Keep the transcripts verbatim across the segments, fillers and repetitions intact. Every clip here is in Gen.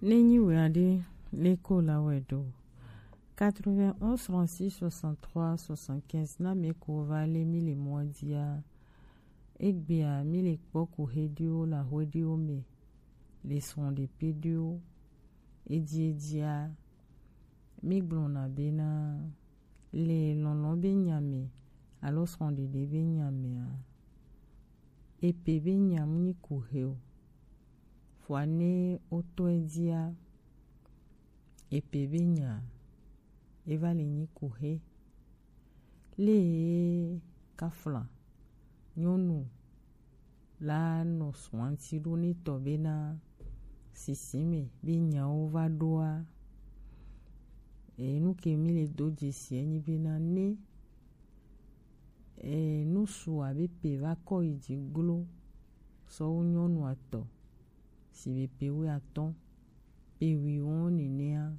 Ne nyi wɛ aɖe, le ko la wɛ ɖo. Quatre-vingt-onze, trente-six, soixante-trois, soixante-quinze, na mi ko va le mi le mɔ dia. Egbea mi le kpɔ ko he ɖiwo la hwe ɖiwo me. Le srɔ̃ɖeƒe ɖiwo. Edi edia. Mi gblɔna bena, le lɔlɔ̃ be nya me alo srɔ̃ɖeɖe be nya mea, epe be nya mu nyi ku he o. Vɔa ne wotɔe dzia, epe be nya eva le nyi ku he. Le kafla nyɔnu la nɔ srɔ̃a ŋuti ɖo ne tɔ bena sisi me be nyawo va ɖoa, e, nu ke mi le do dzesi enyi bena ne, e, nusu abe pe va kɔ yi dzi glo sɔwu nyɔnua tɔ si be pe wuiatɔ̃, pe wuiwo nenea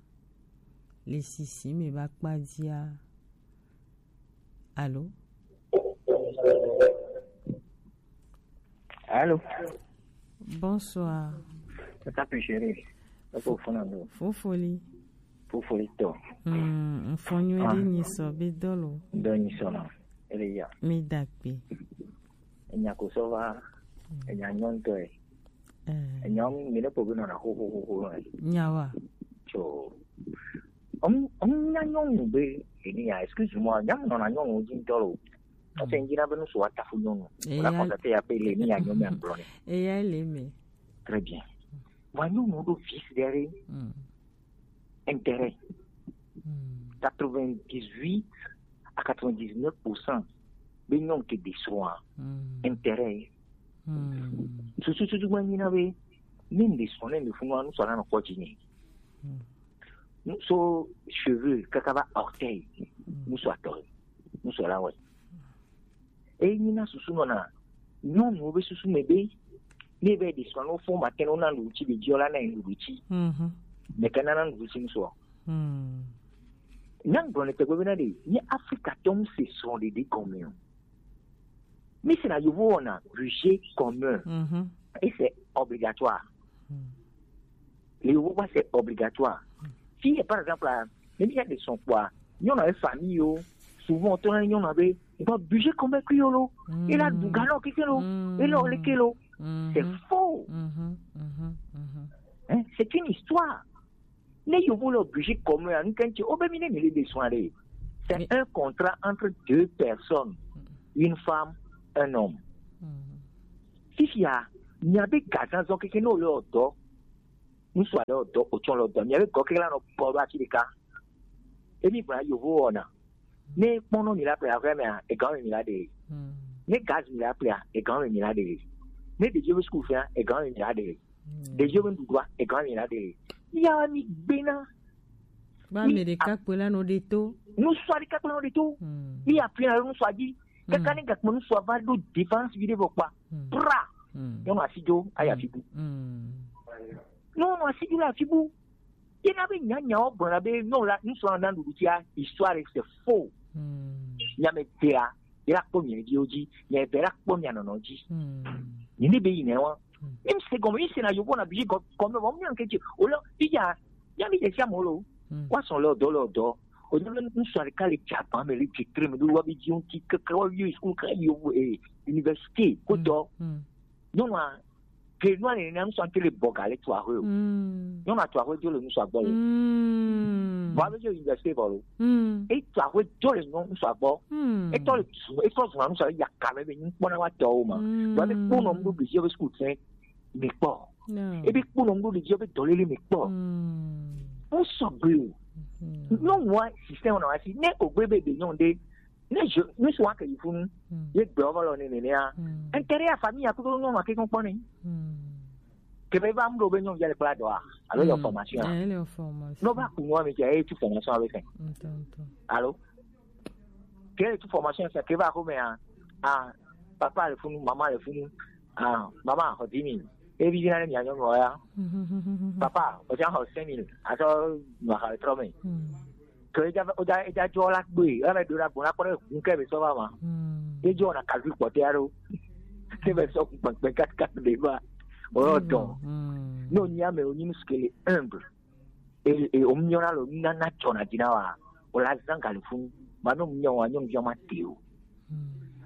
le sisi me va kpa dzia. Alo? Alo? Bonsoir. Tata Pichere. Epo fona do. Fofoli. Fofoli to. Mm, mfɔnyo Ah. Di nyi so be dolo. Do nyi so no. Ele ya. Mi dakpe. Enya ko so va. Mm. Enya nyɔntɔ e. Eh. Enya mi ne po be no na ho ho ho ho no e. Nyawa. So. Om, om nya nyɔnu be, eni ya, excuse-moi, nya mo na nyɔnu dzi ŋutɔ lo. Ɔsɛ ŋdzi na be nusu wa tafu nyɔnu. Eya. Wòla constater ya pe le ni ya nyɔnu ya gblɔ ne. Eya le me. Très bien. Wa nyɔnu ɖo vice derrière. Mm. Intérêt. Mm. Quatre-vingt-dix-huit à quatre-vingt-dix-neuf pour cent be nyɔnu ke de srɔ̃a. Mm. Intérêt. Mm. Susu susu gba nyi na be, ne ŋde srɔ̃ ne ŋde funu wa nusu la nɔ kɔ dzi ne. Mm. Nusu cheveux kaka va orteil. Mm. Nusu atɔ. Nusu la wɛ. Eyi na susu nɔ na nyɔnuwo be susu me be ne be de srɔ̃ no fo ma ke no na nuɖuɖu tsi be dzi la na nuɖuɖu tsi. Mhm. Me ke na na nuɖuɖu tsi nusu. Mm. Nya gblɔ ne tegbe be na de, nye Afrika tɔm se srɔ̃ɖeɖe gɔme o. Mi se na yovo wɔna budget commun. Mhm. Et c'est obligatoire. Mm. Le yovo wa c'est obligatoire. Si, par exemple, ne mi ya de srɔ̃ kpɔa, nyɔnu abe famille yo, souvent to na nyɔnu abe, bon, budget commun kui yo lo. Mm. E la du ga nɔ keke lo. Mm. E la ole ke lo. Mm. C'est faux. Mhm, mhm, mhm. Hein, c'est une histoire. Ne yovo le budget commun, nous, quand tu, oh, ben, mi ne mi le besoin de. C'est un contrat entre deux personnes, une femme, un homme. Mm. Fifia, mi abe gazan zɔ keke no le odo. Nusu ale odo, otsɔ le odo. Mi abe gɔ keke la no polo ati ɖeka. Emi bra yovo ona. Ne kpɔnɔ mi la ple aƒea mea, egawo me mi la ɖe. Mm. Ne gaz mi la ple, egawo me mi la ɖe. Ne ɖeviwo be school fea, egawo me mi la ɖe. Mm. Ɖeviwo be nuɖuɖua, egawo me mi la ɖe. Ya mi gbena. Ba mi me ɖeka kpe la no ɖe to. Nusu ɖeka kpe la no ɖe to. Mm. Mi apia nusu dzi. Kaka ne gakpe nusu va ɖo dépense vi ɖe vɔ kpa. Mm. Pra. Mm. Nyɔnu asi dzo, ayi afi bu. Mm. Nyɔnu asi dzo le afi bu. Ye na be nyanyawo gblɔna be nyɔnu la, ŋutsu la na nuɖuɖu tia, histoire c'est faux. Hmm. Nya me dea, ye la kpɔ mia viwo dzi, mia be la kpɔ mia nɔnɔ dzi. Hmm. Ni ne be yi ne wa. Hmm. Ni se gɔme, ni se na yovo na bi gɔ-, gɔme, wa mi ke o le, iya, ya mi de sia mo lo. Hmm. Wa sɔn le dɔ le dɔ. O le ŋutsu ɖeka le dza ba me le dzi tre me do wa bi dzi ŋuti keke wa bi school ka yo, eh, université ko dɔ. Hmm. Nyɔnua, ke nua ne na ŋutsu ante le bɔ ga le tua hoe o. Mm. Nyɔnua tua hoe dzo le ŋutsu gbɔ le. Mm. Vɔ abe dzo université vɔ lo. Mm. E tua hoe dzo le nyɔ-, ŋutsu gbɔ. Mm. E tɔ le zu, e tɔ zu na ŋutsu ya ka me be ŋkpɔ na wa tɔwo ma. Mm. Vɔ abe kpɔ nɔ ŋɖo ɖeviwo be school fɛ mi kpɔ. No. E be kpɔ nɔ ŋɖo ɖeviwo be dɔlele mi kpɔ. Mm. Ŋutsu gbe o. Mm. Nyɔnua système na wa si ne ogbe be be nyɔnu ɖe Ne je, ne je vois que il faut nous, ye gbe ɔvɔ lɔ ne ne ya. Intérêt ya famille ya kudo nyɔnu ake kɔn kpɔ ne. Ke be va mu ɖo be nyɔnu ya le kpla dɔa, alo le formation. Eh, le formation. No ba ku nua mi ke e tu formation avec. Alo. Ke tu formation sa ke va ko me a. Ah, papa le funu, maman le funu. Ah, maman, ho dix mille. E bi na mi a nyɔnu ya. Papa, o ja ho cinq mille. Aso ma ha trɔ me. Ke eja, eja, eja jɔ la gbe, ela do la gbɔ la kpɔ ɖe ŋu ke be sɔ va ma. Ejɔ na kalvi kpɔtɛ aɖewo. Ke be sɔ kpɛkpɛ kaka ɖe va. O dɔn. Ne wònye ame wònye nu si ke le humble, e, e, wòmyɔna le nunana dzɔna dzi na wòa, wòle azã galifunu. Ma ne wòmyɔ wòa, nyɔnuvi ma te o.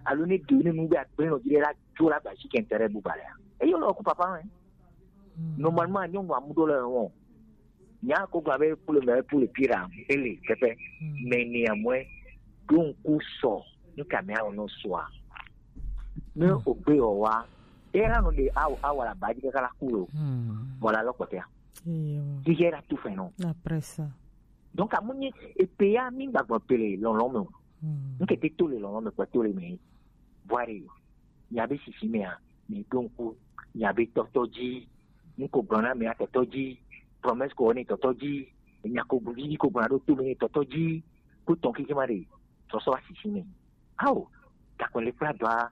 Alo ne ɖe ne nu be agbe nɔ dzi ɖe la dzo la ba si kɛntɛ ɖe buba lea. Eye wòle ɔku papa mɛ. Normalement, nyɔnu amu ɖo le wɔn. Nya ko gblɔ be pour le meilleur, pour le pire, ele kɛkɛ. Mais néanmoins, ɖo ŋku sɔ, nu ka mɛ awɔ nɔ sɔa. Ne wògbe wòa, e la nɔ ɖe awɔ, awɔ la ba dzi kaka la ku lo. Voilà, lɔ kpɔtɛa. Iyo. Ti yɛ la tu fɛ nɔ. Après ça. Donc, amu nyi, epe ya mi gbagbɔ pele lɔlɔ me o. Nke te to le lɔlɔ me kpɛ to le me. Bwari, miabe sisi mea, mi ɖo ŋku, miabe tɔtɔ dzi. Nuko gblɔna mea tɔtɔ dzi. Promesse ko ne tɔtɔ dzi. Nya ko gblɔ dzi ko gblɔna ɖo to me tɔtɔ dzi. Ko tɔn kiki ma ɖe. Sɔsɔ wa sisi me. Ao, gakpɛ le kpla dɔa,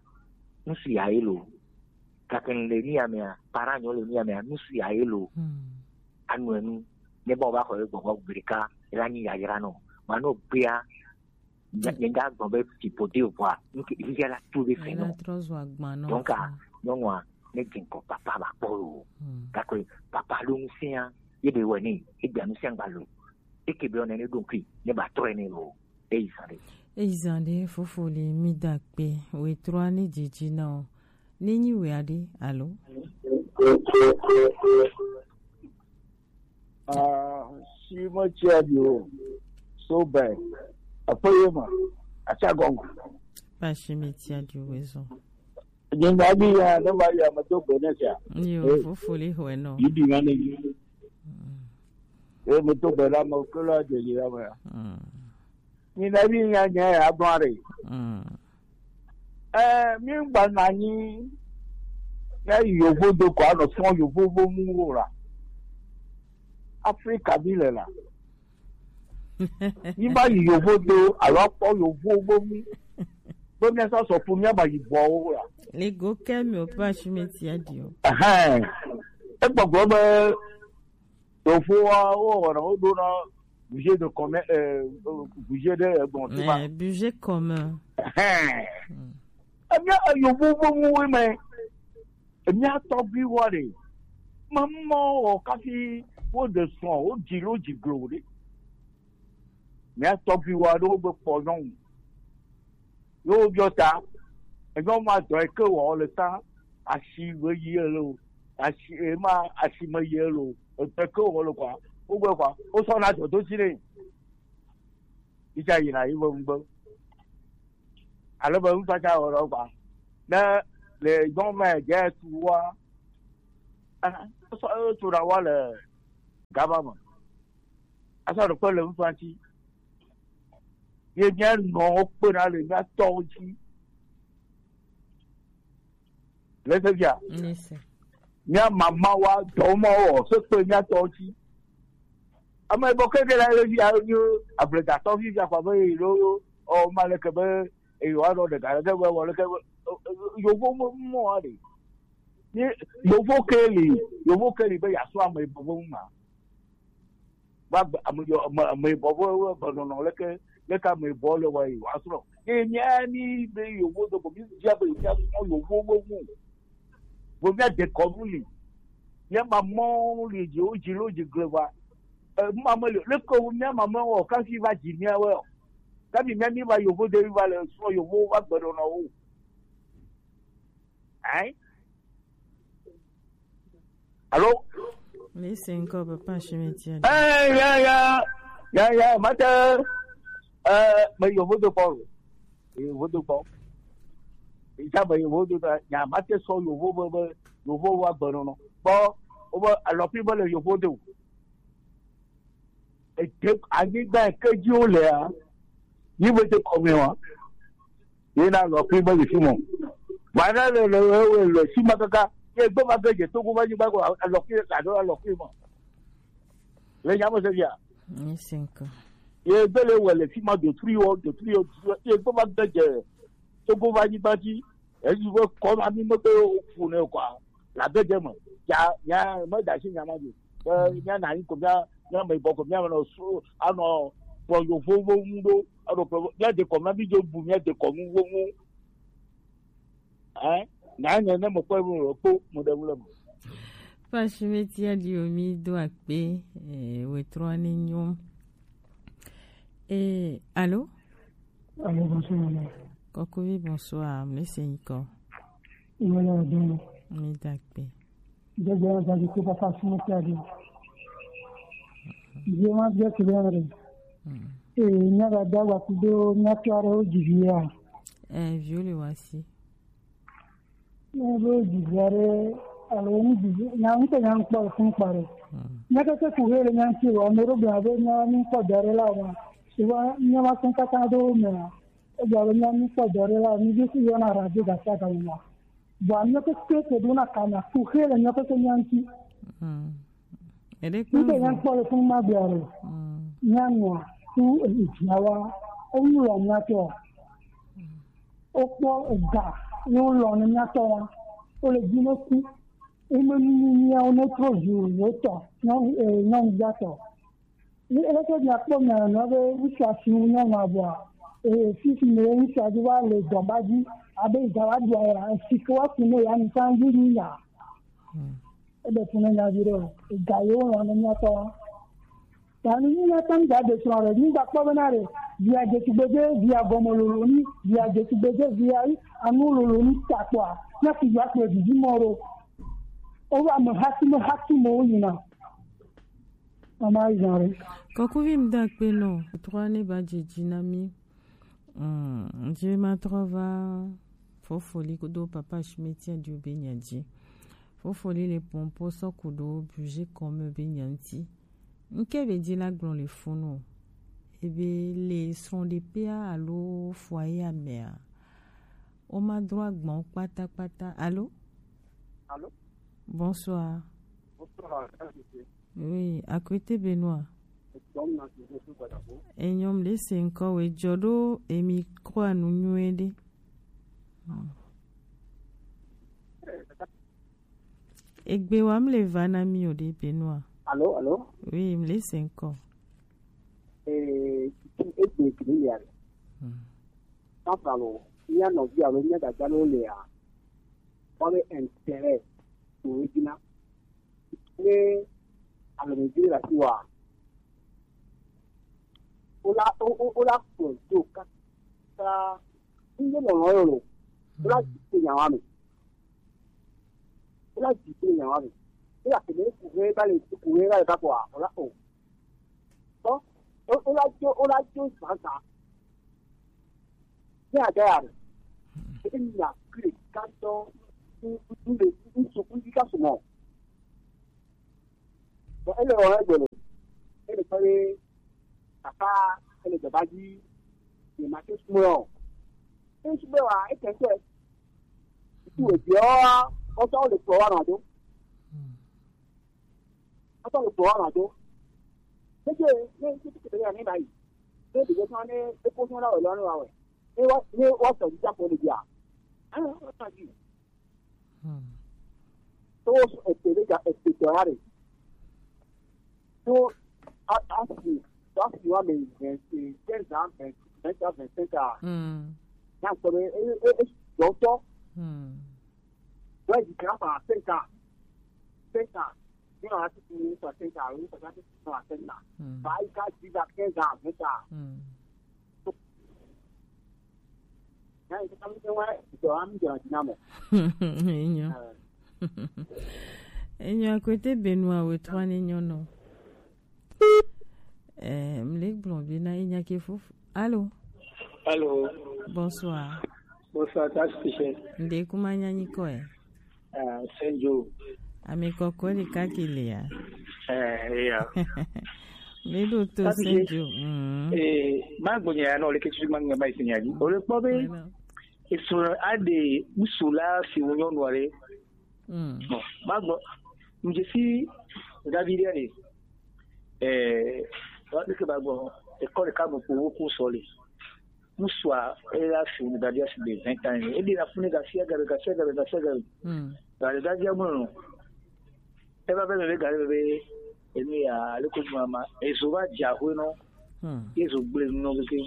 nusu ya ye lo. Gakpɛ le ni ya mea, para nyɔ le ni ya mea, nusu ya ye lo. Anu enu. Ne ba wo ba xɔ ye gbɔgbɔ gbe ɖeka, e la nyi yayra nɔ. Ma no gbea, nye nye ga gbɔ be ti pode o bua, nu ke ya la tu be fe nɔ. Trɔ zu agban nɔ. Donc, a, nyɔnua, ne dze ŋkɔ papa ba kpɔ lo. Gakpɛ papa ɖo ŋusẽa, ye be wɔ ne, e gbea ŋusẽ gba lo. E ke be wɔ ne ne ɖo ŋkui, ne ba trɔ ne lo. Eyi zan ɖe. Eyi zan ɖe, fofo le mi da kpe, wetru ani dzidzi na o. Ne nyi wea ɖe, alo? Ah, si me tsia di o. So bɛ. Aƒe ye me. Atsa gɔme. Ba si me tsia di o, wezɔ. Nyigba dzi ya, ne va yi ame do gbe ne sia. Yo, fofo le xɔe nɔ. Yi di ma ne yi. Ye me do gbe la me, ke la de yi la me. Nyigba dzi ya, nya ya gbɔn ɖe. Eh, mi gba na nyi. Ya yovo do ko anɔ fɔn yovo vo mu wo la. Afrika bi le la. Míva yi yovo do alo akpɔ yovowo be nu be míasɔ sɔ ƒu míaba yi bɔwo la. Le go ke mi o pe asime tia di o. Ɛhɛn. Egbɔgblɔ be yovowa wowɔna, woɖona budget de commun, eh, budget de egbɔn ti ma. Eh, budget commun. Ɛhɛn. Emia eyovowo be nuwo me. Emia tɔgbuiwa ɖe. Mamɔ wɔ kafi wo de sɔn, wo dzi lo dzi glo ɖe. Mia tɔgbuiwa ɖewo be kpɔ nyɔnu. Yo biɔ ta. Enyɔnu ma dɔ ke wɔ le ta. Asi me yi ele o. Asi ema asi me yi ele o. Edɔ ke wɔ le kwa. Wo gbe kwa. Wo sɔ na dɔ do si ɖe. Yi tsa yina yi be ŋgbe. Ale be ŋutɔ tsa wɔ ɖe gba. Ne le gbɔn me dze tu wa. Ah, sɔ tu na wa le gaba me. Asa ɖe kpe le ŋutɔ ŋuti. Ye mía nɔ wo kpe na le mía tɔwo dzi. Le se fia. Mía mama wa dɔwɔmɔ wɔ se kpe mía tɔwo dzi. Ame bɔ ke de la le fia nyo ablegatɔ fi fia kwa be lo o ma le ke be e yo ado de ga le ke be wɔ le ke be yovo mo mo a de. Ni yovo ke li, yovo ke li be ya so ame bɔ mo ma. Va gbe ame yɔ ame ame bɔ ƒe ƒe gbenɔnɔ leke leke ame bɔ le wa yi wa srɔ̃. Eye mía mi be yewo do ko mi bia be mía srɔ̃ yewo be ŋu. Be mía de kɔnu li. Mía mamɔ li dzi wo dzi lo dzi gle va. E, ma me le leke wo mía mamɔ wɔ kafi va dzi mía we o. Kafi mía mi va yewo de va le srɔ̃ yewo va gbenɔnɔ wo. Hein? Allô? Mais c'est encore papa Chimetière. Eh, ya, ya, ya, ya, mate, eh, mais yo vodo pa, yo vodo pa. Ija mais yo vodo pa, ya mate so yo vodo, yo vodo wa gbɔnɔ nɔ. Bon, o ba alors puis ba le yo vodo. Ete anyigba yi ke dzi wo lea, yi be te kɔme wa. Ye na alɔkui be le fi mɔ. Vana le le le le si ma kaka. Ye gbe va ge dze Togo va nyigba ko alɔkui alo alɔkui ma. Le nya me se bia. Ni cinq. Ye gbe le wɔ le fi ma de tri wo de tri wo. Ye gbe va ge dze Togo va nyigba dzi. Eyi be kɔ ma mi me be wo fu ne kwa. La be de me. Ya ya me da si nya ma de. Be nya na yi ko mía mía me bɔ ko mía me nɔ su anɔ kplɔ yovowo ŋu ɖo. Anɔ kplɔ mía de kɔ mía bi dzo bu mía de kɔ ŋu wo ŋu. Hein? Na nye ne me kpɔ wo kpo mo de wule mo. Papa Shimeti Adio, mi do akpe, eh, wetrɔ ne nyom. Eh, allô? Allô, bonsoir, madame. Kokovi, bonsoir, mi se nyikɔ. Voilà, donc. Mi do akpe. Jẹjẹrẹ jàdí kó Papa Shimeti Adio. Jẹ́ wọ́n jẹ́ kìlẹ̀ rẹ̀. Hmm. Ee, nyɛ ga da wa kudo nyɛ tɔ aɖe wo dzi vi ya. Eh, viwo le wasi. Ne be dzi vi aɖe alo nu dzi vi nya ŋutɔ nya ŋkpɔ le fun kpa ɖe. Hmm. Nya keke ku he le nya ŋuti wa, ame ɖo gblɔ be nya mi kpɔ dɔ ɖe la wa. Ewa nya ma sɔn kaka do me. Egblɔ be nya mi kpɔ dɔ ɖe la, mi vi si yɔna radio gasi agame la. Vɔ ame keke ke ɖo na kana ku he le nya keke nya ŋuti. Hmm. Ede kpe. Ŋutɔ nya ŋkpɔ le fun ma gblɔ ɖe. Hmm. Nya nua ku eviawa. Ewu lɔ nya tɔ. Wokpɔ ega ye wolɔ̃ ne mía tɔ wa. Wole dzi ne ku. Wome nu nyuiawo ne trɔ zu yewo tɔ, nyɔnu, eh, nyɔnuvia tɔ. Ye leke miakpɔ mia nɔ be ŋutsua si wu nyɔnua vɔa, eh, fifi me ye ŋutsua dzi va le dɔba dzi, abe ega wa ɖua ya, esi ke wa ku ne ya ŋutɔ dzi ni ya. Hmm. Eɖe fu ne nya vi ɖe o. Ega ye wolɔ̃ ne mía tɔ wa. Ta ni míate ŋu da de srɔ̃ ɖe, mígakpɔ bena ɖe via dzetugbedze, via gɔme lolo ni, via dzetugbedze, via yi anu lolo ni ta kpɔa, ne fi via kplɔe vivi mɔ ɖo. Wobe ame hati me hati me wo yina. Mama yi zã ɖe. Kɔkuvi ŋda kpe nɔ, trɔ ne ba dzedzi na mi. Mm, je ma trɔ va Fofoli kudo Papa Shimeti Adio be nya dzi. Fofoli le pɔnpɔ sɔ kudo budget kɔme be nya ŋuti. Ŋke be dzi la gblɔ le funu o. Ebe le srɔ̃ɖeƒea alo foyer mea, woma dro agbawo kpatakpata. Alo? Alo? Bonsoir. Bonsoir, Tante. Oui, Akwete Benoît. Enyɔm le se ŋkɔ we dzɔ ɖo emi kɔa nu nyuie ɖe. Hmm. Egbe wa mle va na mi o ɖe Benoît. Alo, alo. Oui, mle se ŋkɔ. Eh, tu egbe kini ya. Hmm. Sanfra lo, mía nɔvi alo mía dada lo le a. Kpɔ be intérêt to edzi na. Ne alɔmevi le asi wa, wola, wo, wo, wola kplɔ do kaka. Ŋde lɔlɔ yɔ lo. Wola dzi to nyawa me. Wola dzi to nyawa me. Wola kele kuhe ba le kuhe ba le ba kɔ a. Wola o. Tɔ, o, o la jo, o la jo zazã. Ne a da ya ɖe. Ebe mi na kle kantɔ, n, n, n le, n so, n yi ka so mɔ. Bon, ele wɔ egbe lo. Ele kpɔ be papa, ele dɔba dzi. Ye ma te sumɔ. E su be wa, e tɛ tɛ. Tu e biɔ, o tɔ le kpɔ wa na do. Atɔ le gbɔ wa do. Tete ne tete tete ya ne ba yi. Ne de sɔn ne e ko sɔn la o lɔ ne wa wɛ. Ne wa ne wa sɔ dida ko le bia. Ah, wa ta di. Hmm. To so e te le ja e te to ya re. To a a si to a si wa me vingt quinze ans, vingt, vingt ans, vingt cinq ans. Hmm. Na ko le e e e dɔtɔ. Hmm. Ouais, je crois pas cinq ans. Cinq ans. Nous, on a tout fini sur cinq ans. Oui, ça fait six ans à cinq ans. Hmm. Bah, il a dix à quinze ans, vingt ans. Hmm. Hein, c'est comme si, ouais, c'est un homme de la dynamo. Enyo. Euh. Enyo, à côté Benoît, oui, trois nignon, non. Eh, mle gblɔ be na enya ke fuf. Allô? Allô? Bonsoir. Bonsoir, ta spécial. Nde kuma nyanyi ko e? Ah, Senjo. Ami koko le ka kile ya. Eh, ya. Mle do to Senjo. Mm. Eh, ma gbonya ya no le ke tu ma ngba isinya ji. O le po be. Eso ade musula si wonyo no re. Mm. Bon, ma gbɔ, ŋdze si David ɖe, eh, wa ke ba gbɔ, école ka mo ko wo ko sɔ le. Musua, e la fi ni David asi be vingt ans. E de la fune ga sia ga ga sia ga ga sia ga. Mm. Ga David mo no. E ba be be ga be, e ni ya le ko ma ma, e zo ba ja ho no. Mm. E zo gble no ke.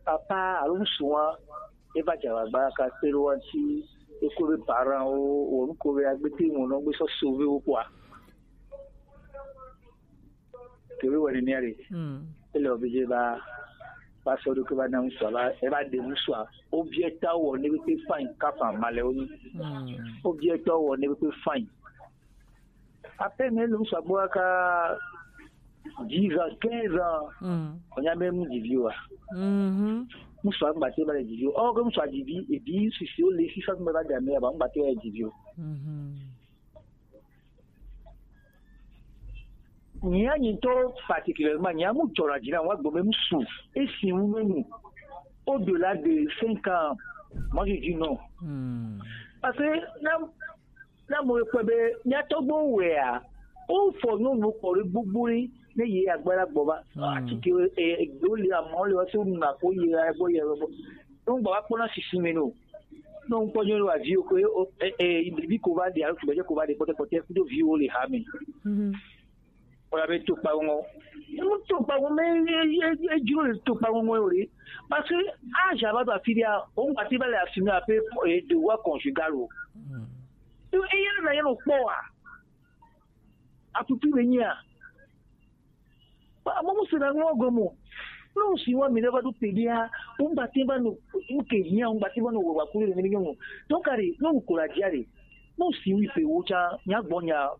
Papa alo ŋsu wa, e va dze agbagba ka kpe ɖe wo ŋuti, Eko be parent wo, wo nuko be agbe te ŋu no gbe sɔ sauver wo kpoa. Ke be wani ni are. Hmm. Ele obligé ba, ba sɔ do ke ba na ŋusua, ba, e ba de ŋusua. Obligé ta wo ne be pe fine, ka fa ma le wo ni. Hmm. Obligé ta wo ne be pe fine. Après, mais le ŋusua bo ka dix ans, quinze ans. Hmm. On a même dix vieux. Mhm. Ŋusua ngba te ba le dix vieux. Oh, comme ça dix vieux, et dix, si, si, on les six cents me ba de ame, ba ngba te ba le dix vieux. Mhm. Nya nyitɔ particulièrement, nya mu jɔra dzi na wa gbɔme mu su. Esi wu nyɔnu. Au-delà de cinq ans, moi je dis non. Hmm. Parce que na, na mo kpe be nya tɔgbo wea, o fɔ nyɔnu kɔ ɖe gbogbo ɖe ne ye agbara gbɔ va. Hmm. Ati ke e do le amɔ le wa so na ko ye agbɔ ye gbɔ. Donc ba wa kpɔna sisi me no. Donc kpɔ nyɔnu wa vi o ko e e bi ko va de alo tugbe ko va de kpɔtɛ kpɔtɛ kudo vi o le ha me. Mhm. Wala be to kpa ŋɔ. Emu to kpa ŋɔ me e e e juro le to kpa ŋɔ ŋɔ yore. Parce que âge aba do afi dia, o ngba ti ba le assumer ape e devoir conjugal o. Hmm. E e yɛrɛ na yɛrɛ kpɔ wa. Aputu be nyia. Ba mo mo se na ŋɔ gomo. No si wa mi ne ba do pe dia, o ngba ti ba no, nke hia o ngba ti ba no wa kure ne mi nyɔnu. Donc are, no ko la dia re. No si wi pe wo cha, nya gbɔ nya,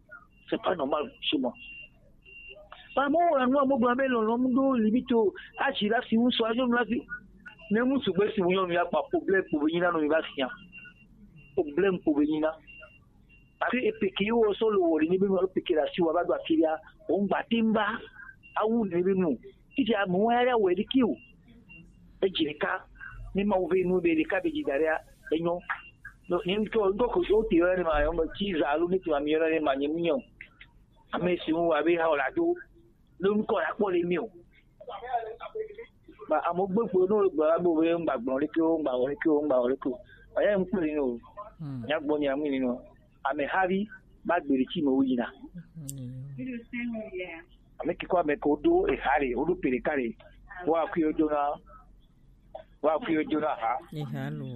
c'est pas normal chez moi. Ba mo wa no mo gba be lo lo mu do limite o, a si la si un so ajo la si. Ne mu su gbe si wo nyɔnu ya pa problème ko be nyina no mi ba si ya. Problème ko be nyina. Parce que epeke wo so lo wo ni be mo peke la si wa ba do afi ya, o ngba ti mba, awu ni be mo. Ti ja mo wa ya we di ki o. E ji ka, ni ma wo ve nu be di ka be ji daria, e nyɔ. No, ni ko, ko ko so ti yo ni ma yo mo ti za lu ni ti ma mi yo ni ma ni mu nyɔ. Ame si ŋu abe ha wòle ado lé ŋkɔ la kpɔ le mi o. Ba amewo gbe kpo ne wogblɔ la be wobe ŋgba gblɔ leke wo, ŋgba wɔ leke wo, ŋgba wɔ leke wo. Ɔya ŋkpɔ le ni o. Hmm. Nya gbɔ nya mu ni no. Ame havi ba gbe ɖe tsi me wo yina. Hmm. Ame kiko ame ko do eha le, woɖo pe ɖeka le. Wa kui wodo na, wa kui wodo na ha. Eha lo.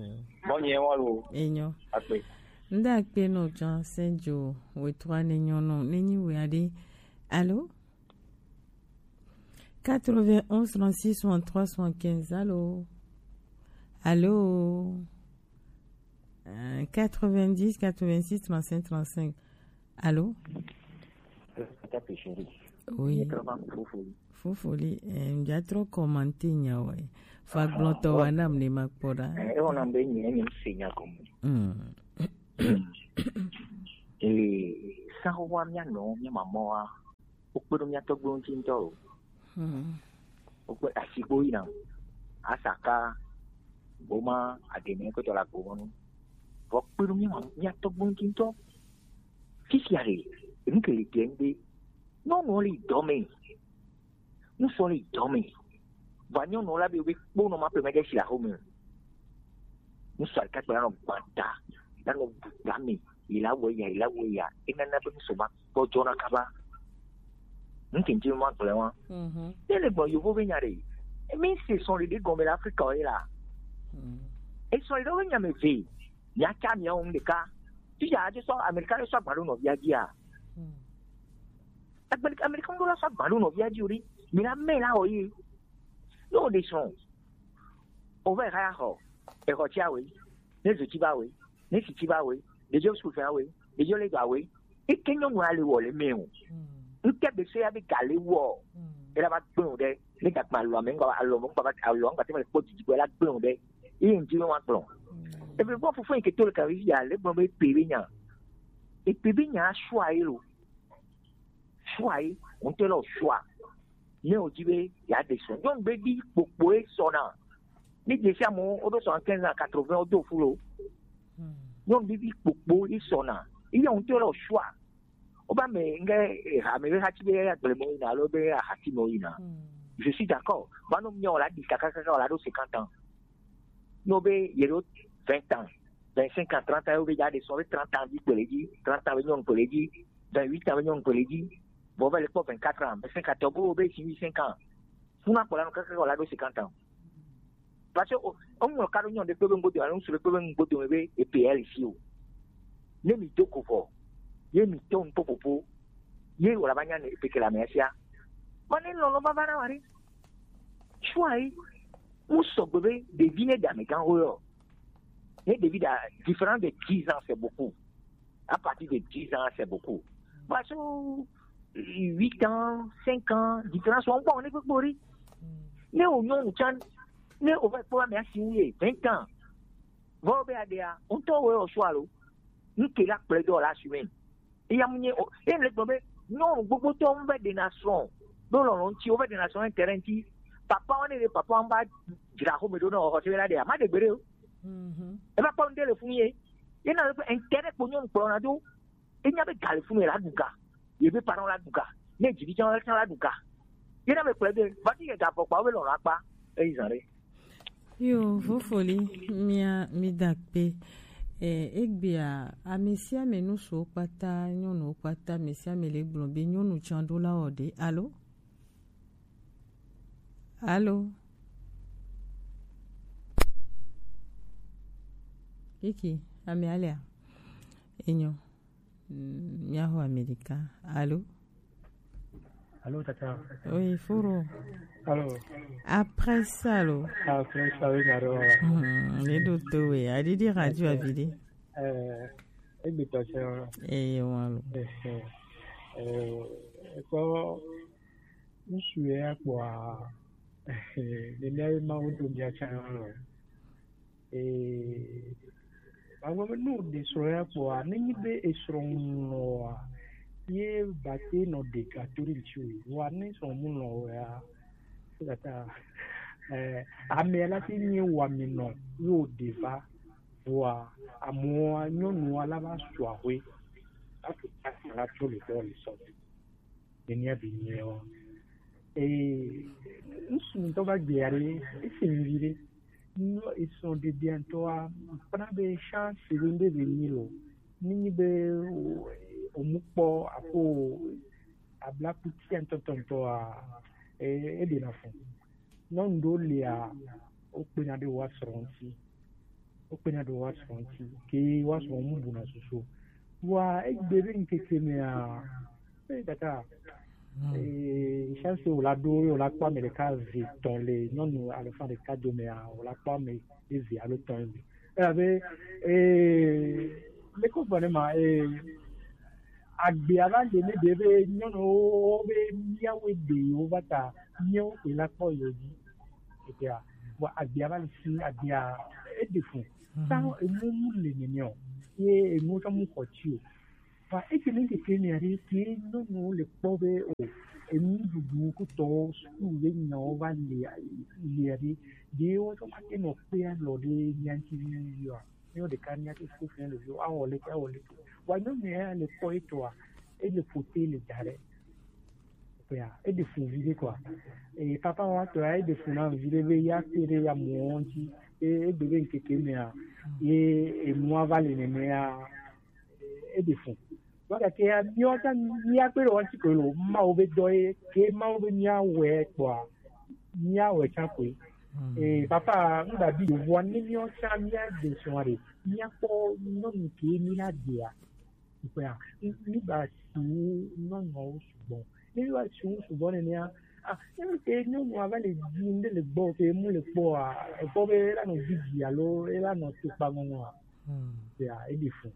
Mɔ nyɛ wa lo. Enyo. Akpe. Nda akpe no Jean Saint Jo, we trois ne nyo no, ne nyi we ade. Allô? Quatre-vingt-onze, trente-six, soixante-trois, soixante-quinze. Allô? Allô? Euh, quatre-vingt-dix, quatre-vingt-six, trente-cinq, trente-cinq. Allô? Tata pe chéri. Oui. Fofoli. Fofoli, eh, mja trop commenter nya wa. Fa gblɔtɔ wa nam ne ma kpɔ ɖa. Eh, e wɔna be nye, nye se nya gɔme. Mm. Ee, sanxoxoa mía nɔ, mía mamɔa, wokpe ɖo mía tɔgbuiwo ŋuti ŋutɔ o. Hmm. Wokpe asigbo yina, asaka, gboma, aɖeme kpetɔ le agbomɔnu. Vɔ kpe ɖo mía ma-, mía tɔgbuiwo ŋuti ŋutɔ. Fifia ɖe, enu ke le dze ŋgbe. Nyɔnuwo le dɔ me. Ŋutsuwo le dɔ me. Vɔ nyɔnuwo la be, be kpo nɔ ma ƒe me ɖe si le axome o. Ŋutsu ɖeka kpɛ la nɔ gbata, la nɔ bu gba me, yi la wɔ ya, yi la wɔ ya. Enana be ŋutsu ma gbɔdzɔna kaba. Ŋkeke ma gblẽ wa. Mhm. Ele gbɔ yovo be nya ɖe. Emi se sɔn ɖe gɔme le Afrika o ye la. Mhm. Esɔn ɖe be nya me ve. Mia tsa mia ŋu ɖeka. Fifia ade sɔ Amerika ɖe sɔ agba ɖo nɔvia dzia. Mhm. Agbe-, Amerika ŋɖo la sɔ agba ɖo nɔvia dzi o ɖi. Mi la mɛ la wɔ ye. Ne o ɖe srɔ̃. O va eha ya xɔ. Exɔ tsi awe. Ne zo tsi ba we. Ne si tsi ba we. Ɖeviwo sukulu fɛn awe. Ɖeviwo le do awe. Eke nyɔnu ale wɔ le mɛ o. Ŋkɛ be se ya be ga le wɔ. Ela va gbɛ o ɖe. Ne gakpa alɔ ame ŋgba alɔ ŋgba alɔ ŋgba te ma le kpɔ didi gbɔ ela gbɛ o ɖe. Eye ŋdi wa gblɔ. Ebe bɔ fofo yi ke to le kavi ya le gblɔ be pe be nya. Epe be nya sua ye lo. Sua ye, ŋutɔ le sua. Ne o dzi be ya de sɔ. Nyɔnu be di kpokpo ye sɔna. Ni dze sia mo, o do sɔ quinze ans, quatre-vingts, o do fu lo. Nyɔnu be di kpokpo ye sɔna. Iya ŋutɔ le sua. O ba me nge, eh, ha me be hati be ya gble mo yina, alo be ya hati mo yina. Je suis d'accord. Ba no mi o la di kaka kaka o la do cinquante ans. No be ye do vingt ans. Vingt-cinq ans, trente ans, yo be ja de sɔ be trente ans bi kpele dzi, trente ans be nyɔnu kpele dzi, vingt-huit ans be nyɔnu kpele dzi, vɔ va le kpɔ vingt-quatre ans, vingt-cinq ans, tɔgbo be si huit cinq ans. Funa kpɔ la no kaka kaka o la do cinquante ans. Parce que o, o ŋlɔ ka ɖo nyɔnu ɖe kpe be ŋgbo dome, ŋutsu ɖe kpe be ŋgbo dome be e P L si o. Ne mi do go vɔ, ye mi tɔ ŋkpɔ popo, ye wòle va nya ne e pe ke le amea sia. Mɔ ne lɔlɔ va va na wa ɖe. Tsua yi, mu sɔgbe be ɖevi ne ɖe amegã ho yɔ. Ne ɖevi ɖa, différence de dix ans, c'est beaucoup. À partir de dix ans, c'est beaucoup. Parce que huit ans, cinq ans, différence, on peut, on est pour. Ne o nyɔnu tsan, ne o va kpɔ ame asi wu ye, vingt ans. Vɔ be aɖea, ŋutɔ wo yɔ sua lo. Ŋke la kplɔe do la sume. Eya mu nye o, eye le gblɔ be nyɔnu gbogbotɔ ŋu be ɖena srɔ̃ ɖo lɔlɔ̃ ŋuti, wo be ɖena srɔ̃ intérêt ŋuti. Papa wo ne ɖe papa ŋu va dzra xɔme ɖo na xɔse la ɖea, ma ɖe gbe ɖe o. Mhm. Eva kpɔ ŋɖe le funu ye. Ye na be intérêt kpo nyɔnu kplɔna do. Enya be ga le funu ye la ɖu ga. Ye be parents la ɖu ga. Ne dzi vi tsã la tsã la ɖu ga. Ye na be kplɔe be va ti ke ga vɔ kpa wo be lɔlɔ̃ akpa. Eyi zan ɖe. Yo, Fofoli, mia, mi da akpe. Eh, egbea, ame sia ame, ŋutsuwo kpata, nyɔnuwo kpata, ame sia ame le gblɔ be nyɔnu tsan ɖo la wɔ ɖe. Alo? Alo? Kiki, ame alia? Enyo. Mm, míaxɔ Amerika. Alo? Alo, tata. Oui, Foro. Alo. Après ça, lo. Après ça, oui, naro. Hmm, le doto, oui. Adidi radio avili. Eh, egbetɔ sɛ. Eh, wa lo. Eh, eh, eh, ko, ŋsu ya kpɔa, eh, le le ma wo do bia tsa lo. Ee, magblɔ be ne wòɖe srɔ̃ ya kpɔa, nenye be esrɔ̃ ŋu lɔ̃ oa, ye bate nɔ ɖe ga to ɖe ŋuti o. Vɔa ne srɔ̃ mu lɔ̃ o ya, eya ta, eh, ame la ti nye wɔmenɔ ye wòɖe va. Vɔa amewoa, nyɔnua la va su ahoe. Atu tasi la tso le dɔ le sɔ. Nenia be nyiɛ wa. Ee, ŋsu ŋutɔ va gbea ɖe, esi ŋvi ɖe. Nɔ esrɔ̃ ɖeɖea ŋutɔa, kpɔna be chance ɖe ŋɖe be nyi lo. Nenye be o, omu kpɔ ako abla kutia ŋutɔŋutɔa, e, eɖena fu. Nyɔnu ɖewo lia, wokpena ɖe woasrɔ̃ ŋuti. Wokpena ɖe woasrɔ̃ ŋuti. Ke woasrɔ̃ mu buna susu. Vɔa egbe be ŋkeke mea, eh, tata, eh, chance wòla ɖo, ye wòla kpɔ ame ɖeka ve tɔn le nyɔnu alafa ɖeka domea, wòla kpɔ ame eve alo tɔn eve. Elabe, eh, leke wogblɔ ne ma, eh, agbea va le ne ɖe be nyɔnuwo be míawoe ɖe yewo va ta míawo koe la kpɔ yewo dzi. Etea, vɔ agbea va le si, agbea eɖe fu. Mhm. Sa enu mu le nene o, ye enu tsɔ mu xɔ tsi o. Va eke ne keke ne aɖe ke nyɔnuwo le kpɔ be o, enu ɖuɖu kutɔ suku ye nyawo va le, le aɖe, ɖe wotsɔ ma ke nɔ kpe alɔ ɖe mía ŋuti vivivi oa. Míawo ɖeka míate suku fia ɖeviwo, awɔ leke, awɔ leke. Vɔa nyɔnu ya le kpɔ etɔa, ele ƒote le da ɖe. Kpea, eɖe fu viɖe kɔa. Eye papa wa tɔ ya, eɖe fu na viɖe be ya kpe ɖe ya mɔ ŋuti. Ye egbe be ŋkeke mea, ye enua va le nenea, eɖe fu. Vɔ gake ya, míawo tsã, míakpe ɖe wo ŋuti koe lo, Mawu be dɔ ye, ke Mawu be míawɔe kpɔa, míawɔe tsã koe. Mm. Ee, papa, ŋgba bi yevoa, ne míawo tsã míaɖe srɔ̃a ɖe, míakpɔ nyɔnu ke míla ɖea. Kpɔa, míba si wu nyɔnuawo sugbɔ. Ne míba si wu sugbɔ nenea, ah, ne ke nyɔnua va le dzi ŋɖe le gbɔ, ke mu le kpɔa, ekpɔ be ela nɔ didi alo ela nɔ tukpa ŋɔŋɔa. Hmm. Ya, eɖi fu.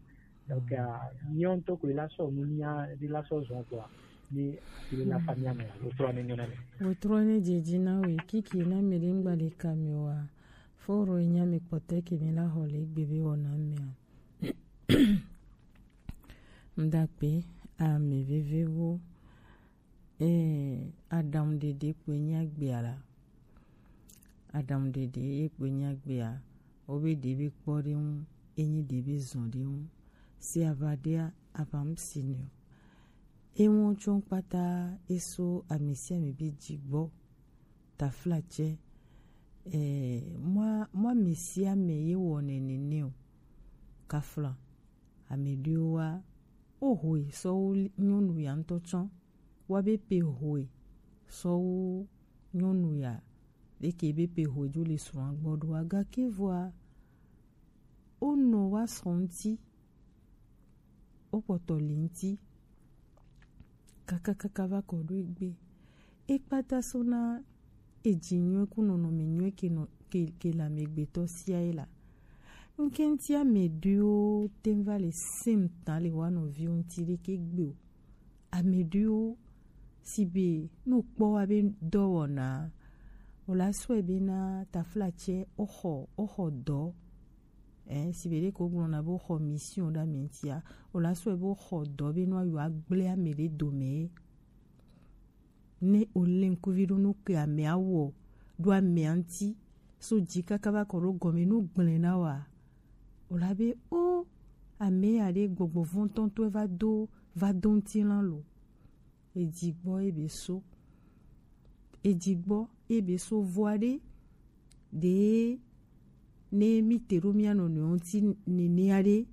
Donc, ah, míawo ŋutɔ koe la sɔ nu mía ɖe la sɔ zɔn kpɔa, ni ati la fa mía me, wotrɔ ne nyɔ na mí. Wotrɔ ne dzedzi na we, kiki na mi ɖe ŋgba ɖe ka mi wa. Foro nya mi kpɔtɛ ke mi la xɔ le gbe be wɔna mea. Mdakpe ame vevewo. Ee, aɖaŋuɖeɖe kpoe nye agbea la. Aɖaŋuɖeɖe ye kpoe nye agbea. Wobe ɖe be kpɔ ɖe ŋu, enyi ɖe be zɔn ɖe ŋu. Si aʋa ɖea, aʋa ŋu si nɛ o. Eŋu tsɔ kpata eso ame sia ame be dzi gbɔ. Tafla tsɛ, eh, mɔ, mɔ ame sia ame ye wɔnɛ nene o. Kafla, ame ɖewo wa, wo hoe sɔ wu nyɔnu ya ŋutɔ tsɔ. Wa be pe hoe sɔ wu nyɔnu ya. Leke be pe hoju le srɔ̃a gbɔ ɖoa, gake vɔa, wonɔ wa srɔ̃ ŋuti, wokpɔtɔ li ŋuti, kakakaka va kɔ ɖo egbe. Ekpata so na eji nyuie ku nɔnɔme nyuie ke nɔ ke, ke le amegbetɔ sia ye la. Ŋkɛnti ame ɖewo te va le sem ta le wa nɔviwo ŋuti ɖeke gbe o. Ame ɖewo si be no kpɔ wa be dɔwɔna o la sɔe be na taflatsɛ oxɔ oxɔ dɔ. Eh, si be ɖe ko gblɔna be oxɔ mission ɖe ame ŋutia, o la sɔe be oxɔ dɔ be no ayo agble ame ɖe dome. Ne o le ŋkuvi ɖo nu ke amea wɔ ɖo amea ŋuti, so dzi kaka va kɔ ɖo gɔme nu gblẽ na wa. O la be o ame ya ɖe gbɔgbɔ vɔ̃tɔtɔe va do va do ŋutilã lo. Eji gbɔ ebe so. Eji gbɔ ebe so vɔa ɖe ɖe ne mi te ɖo mia nɔnɔewo ŋuti nenea ɖe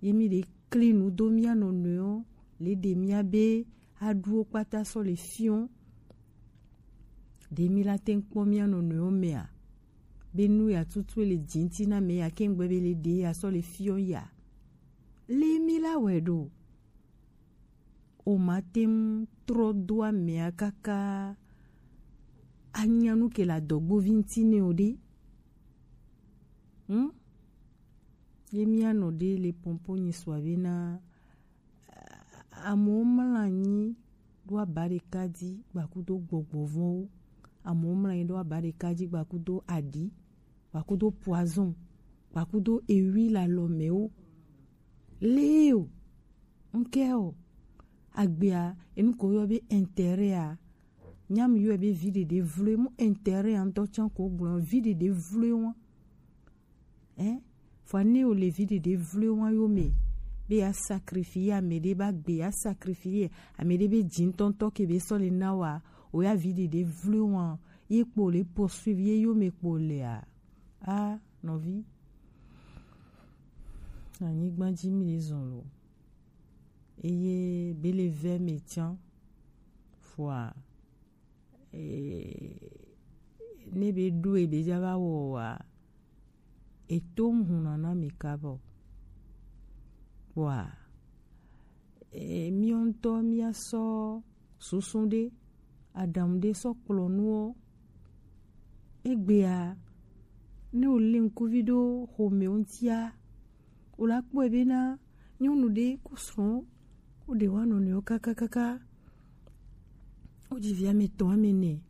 ye mi ɖe kli nu do mia nɔnɔewo le ɖe mia be aɖuwo kpata sɔ le fiɔ ɖe mi la te ŋkpɔ mia nɔnɔewo mea be nu ya tutu le dzi ŋuti na me ya ke ŋgbe be le ɖe ya sɔ le fiɔ ya le mi la wɛ ɖo. O ma te ŋu trɔ do amea kaka anya nu ke le adɔgbovi ŋuti nɛ o ɖe. Hm? Ye mía nɔ ɖe le pɔnpɔn nyi sua be na amewo mlɔ anyi ɖo aba ɖeka dzi gbakudo gbɔgbɔ vɔ̃wo. Amewo mlɔ anyi ɖo aba ɖeka dzi gbakudo aɖi, gbakudo poison, gbakudo ewi le alɔmewo. Leo, ŋkɛ o, agbea, enu ko yɔ be intérêt a, nyam yɔe be vi ɖeɖe vloe mu intérêt a ŋutɔ tsã ko gblɔ vi ɖeɖe vloe wa. Hein? Fua ne o le vi ɖeɖe vloe wa yo me, be ya sacrifier ame ɖe ba gbe, ya sacrifier ame ɖe be dzi ŋutɔŋutɔ ke be sɔ le na wa, o ya vi ɖeɖe vloe wa, ye kpo le poursuivre ye yo me kpo le a. Ah, nɔvi. Anyigba dzi mi le zɔn lo. Eye be le vɛ me tsã. Fua. Eh, ne be ɖo ebe dza va wɔ wa. Eto ŋu nana mi kabɔ. Kpɔa. Eh, miɔ ŋutɔ mia sɔ susu ɖe, aɖaŋu ɖe sɔ kplɔ nuwo. Egbea, ne o le ŋkuvi ɖo xome ŋutia, o la kpɔe be na nyɔnu ɖe ku srɔ̃, wo ɖe wa nɔnɔewo kakakaka, wo dzi vi ame etɔ̃ ame ene.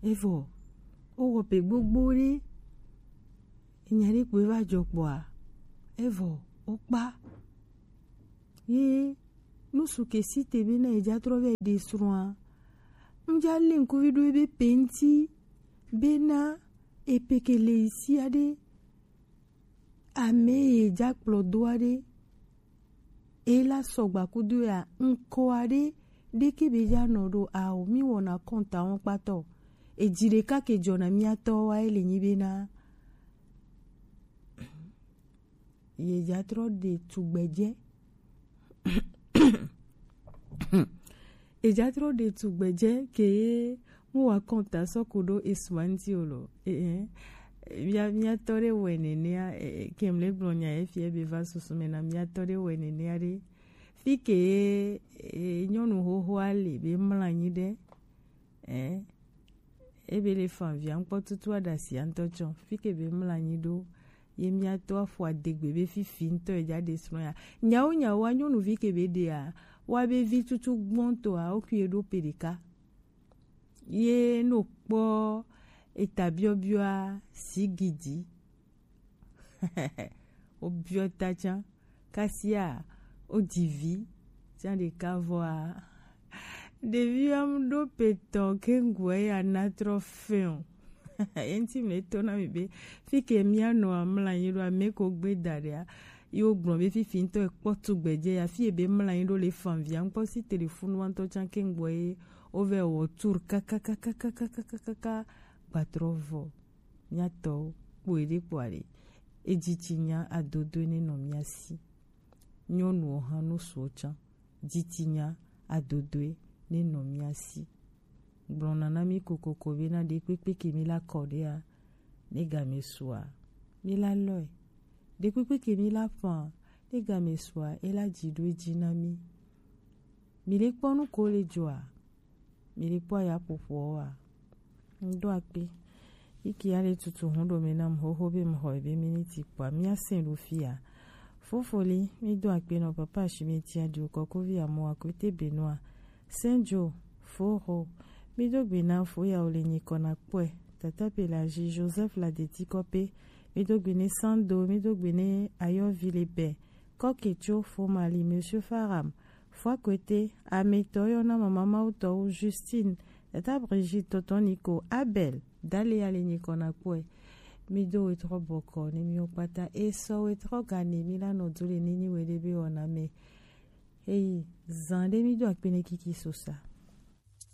Evɔ, wo wɔ pe gbogbo ɖe, enya ɖe kpoe va dzɔ kpɔa, evɔ, wo kpa. Ye nusu ke si te be na ye dza trɔ vɛ ɖe srɔ̃a. Ŋdza le ŋkuvi ɖo ebe pe ŋti be na epe ke le isi aɖe. Ame ye dza kplɔ do aɖe. E la sɔgba kudo ya ŋkɔ aɖe ɖeke be dza nɔ ɖo ao mi wɔna kɔnta wɔn kpatɔ. Edzi ɖeka ke dzɔna miatɔ wa ele nyi be na. Ye dza trɔ ɖe tugbedzɛ. Ye dza trɔ ɖe tugbedzɛ ke ye mu wa kɔnta sɔ ko ɖo esua ŋti o lo. Eh, eh. Mia, miatɔ ɖe wɛ nenea, eh, eh, ke mle gblɔ nya ye fie be va susu me na miatɔ ɖe wɛ nenea ɖe. Fi ke ye, eh, nyɔnu xoxoa le be mla anyi ɖe. Eh, ebe le fan via ŋkpɔ tutu aɖasia ŋutɔ tsɔ. Fi ke be mla anyi ɖo, ye miatɔ afɔ adegbe be fifi ŋutɔ ye dza ɖe srɔ̃ ya. Nyawo nyawo wa nyɔnuvi ke be ɖea, wa be vi tutu gbɔntɔa, wo kui ɖo pe ɖeka. Ye no kpɔ eta biɔbiɔa sigidi. Wo biɔ ta tsã. Kasia, wo dzi vi tsã ɖeka vɔa. Ɖevi am ɖo petɔ ke ŋgɔe ya na trɔ fɛn o. Ye ŋti me to na mi be, fi ke mia nɔ amla anyi ɖo ame ko gbe da ɖea, yo gblɔ be fifi ŋutɔ ekpɔ tugbedzɛ ya, fi ebe mla anyi ɖo le fan via ŋkpɔ si telefonu wa ŋutɔ tsã ke ŋgɔe, wo vɛ wɔ tour kakakakakakakaka gbatrɔ vɔ. Miatɔwo, kpoe ɖe kpoa ɖe. Edzitinya adodoe ne nɔ mia si. Nyɔnuwo hã no suɔ tsã. Dzitinya adodoe ne nɔ mia si. gblɔna na mí kokoko bena ɖekpekpe ke mí la kɔ ɖea, ne game sua, mí la lɔe. Ɖekpekpe ke mí la fã, ne game sua, e la dzi ɖo edzi na mí. Mí le kpɔ nu ko le dzɔa? Mí le kpɔ aya ƒoƒoa? Ŋɖo akpe. Iki ale tutu hun ɖo me nam xoxo be mxɔ ebe miniti kpɔa. Mía sɛn ɖo fia. Fofoli, mí do akpe nɔ papa Ashimeti Adio, kɔkovi Amoa Kwete Benoit, Saint Joe, Foro, mí do gbe na foya wo le nyikɔ na kpɔe, Tata Pelagie, Joseph Ladeti Kɔpe, mí do gbe ne Sando, mí do gbe ne Ayɔvi le bɛ, Kɔketso, Fomali, Monsieur Faram, Fua Kwete, ametɔ yɔ na mama Mawutɔwo, Justine, Tata Brigitte, Tonton Nico, Abel, Dale ale nyikɔ na kpɔe. Mí do wetrɔ bɔkɔ ne mí wo kpata. E sɔ wetrɔ gane mí la nɔ do le ne nyi we ɖe be wɔna me. Eyi, zan ɖe mí do akpe ne kiki sosa.